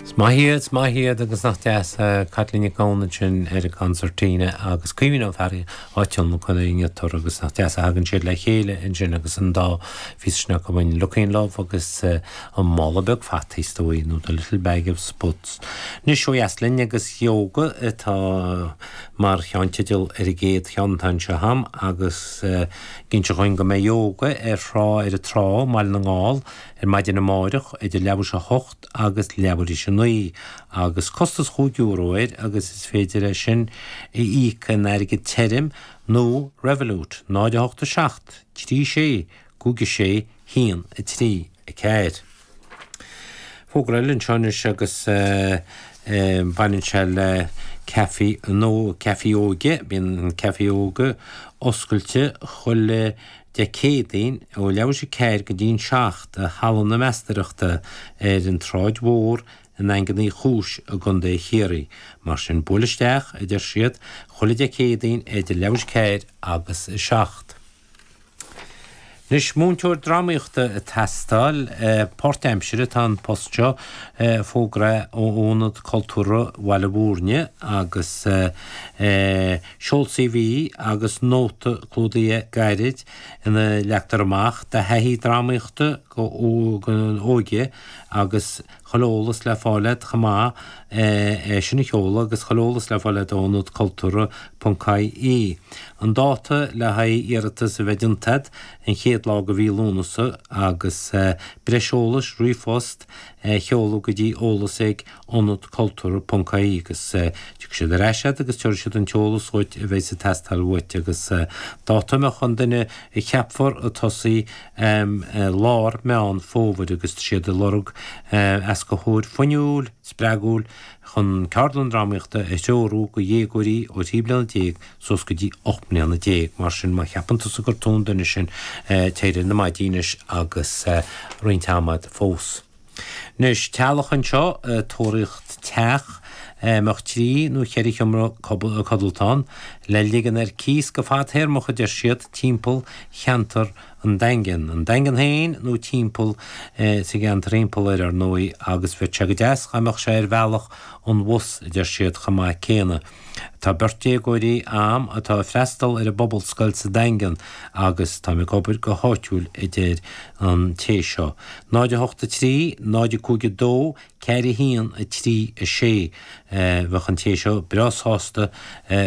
Is maith iad, is maith iad agus nach deas Caitlín Nic Gabhann ansin ar an gconsairtín agus Caoimhín Ó Fearraigh á tionlacan ar an ngiotár agus nach deas a thagann siad le chéile ansin agus an dá phíosa sin acu uainn, Looking Love agus an Mála Beag Fataí is dóigh nó The Little Bag of Spuds. Anois ó dheas linn agus Ióga atá mar cheannteideal ar an gcéad cheann atá anseo a'm agus ag inse dhúinn go mbeidh Ióga ar thrá ar an trá i mBaile na nGall ar maidin amáireach idir leathuair tar éis a hocht agus leathuair tar éis a naoi agus costas chúig euro air agus is féidir é sin a íoc in airgead tirim nó Revolut, 0 8 7 3 6 5 6 1 3 4. Fógra eile anseo anois agus baineann sé le caife nó caife óige. Bíonn an caife óige oscailte chuile Dé Céadaoin ó leathuair tar éis a ceathair go dtí'n 7 i Halla na Meastóireachta ar an tSráid Mhór i nDaingean Uí Chúis i gContae Chiarraí. Mar sin, buail isteach, a deir siad, chuile Dé Céadaoin idir leathuair tar éis a ceathair agus a 7. Anois, múinteoir drámaíochta ag teastáil, páirtaimsire atá an post seo, fógra ó Ionad Cultúrtha Bhaile Bhúirne agus seol CV agus nóta clúdaithe gairid ina leagtar amach do thaithí drámaíochta don óige agus chuile eolas le fáil agat chomh maith é sin a sheoladh agus chuile eolas le fáil agat ó Ionad Cultúrtha ponc ie. An dáta le haghaidh iarratas a bheith déanta agat, an chéad lá de mhí Lúnasa agus breis eolais, ríomhphost a sheoladh go dtí eolas ag ionadcultúrtha ponc ie agus tiocfaidh siad ar ais agat agus tabharfaidh siad an t-eolas dhuit a bheidh ag teastáil uait agus dáta a mbeadh an duine a cheapfar ag tosaí lár Meán Fómhair agus tá siad ag lorg éascaitheoir fuinniúil, spreagúil chun ceardlann drámaíochta a threorú do dhéagóirí ó 13 bliana suas go dtí 18 mbliana. Mar sin má cheapann tusa gur tú an duine sin téir ar na maidí anois agus roinnt ama agat fós. Anois, teaghlach anseo ag tóraíocht teach a mbeadh trí nó cheithre sheomra codlata ann, le ligean ar cíos go fadtéarmach, a deir siad, timpeall cheantar an Daingin. An Daingean féin nó timpeall, sa gceantar thimpeall air, ar ndóigh, agus bheadh sé go deas dhá mbeadh sé ar bhealach an bhus, a deir siad, chomh maith céanna. Tá beirt déagóirí a'm atá ag freastal ar an bPobalscoil sa Daingean agus táim ag obair go háitiúil a deir an té seo. 0 8 3 0 5 2 4 1 3 6 Bheadh an té seo breá sásta.